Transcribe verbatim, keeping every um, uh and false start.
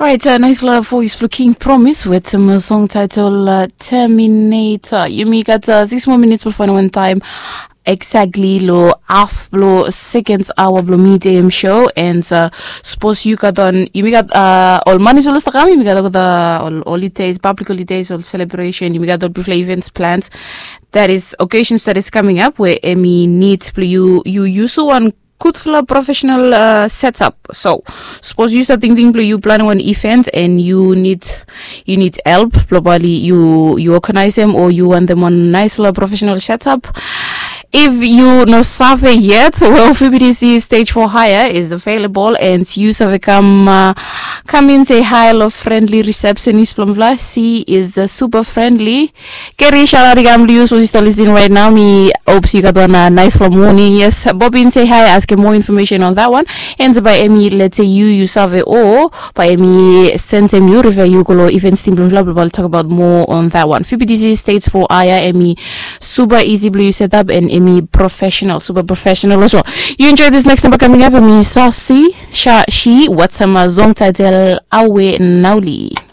Orait, naispela vois blong King Promise wetem song title Terminator. Yumi gat sikis moa minits blong faindaot taim exactly long haf blong second hour blong Mid A M show. And sapos yu gat on, yumi gat ol manis ol stap kam, yumi gat olgeta ol holidays, public holidays, ol celebration, yumi gat ol bigfala events plans. That is occasions that is coming up we em i nid blong yu yu yusim wan gudfala professional setup. So sapos yu stap tingting blong yu planim wan event and yu nid yu nid help blong bae oli yu yu organisim o yu wantem wan naispela professional setup. If yu no save yet, well, F B T C stage four hire is available and yu save kam kam in say hi long friendly receptionist blong mifala. She is super friendly. Keri shalari kam long yu sapos yu stap listening right now. Mi hopes yu gat wan naispela moning. Yes, bob in say hi, askem more information on that one. And bae em i let's say yu yu save o bae em i sentem yu riva yu go long events team blong mifala blong bae oli tok about more on that one. F B T C stage four hire, em i super easy blong yu setup and em i professional, super professional as well. Yu enjoy this next number coming up, em i Saucy Shashi wetem song title Awe Nauli.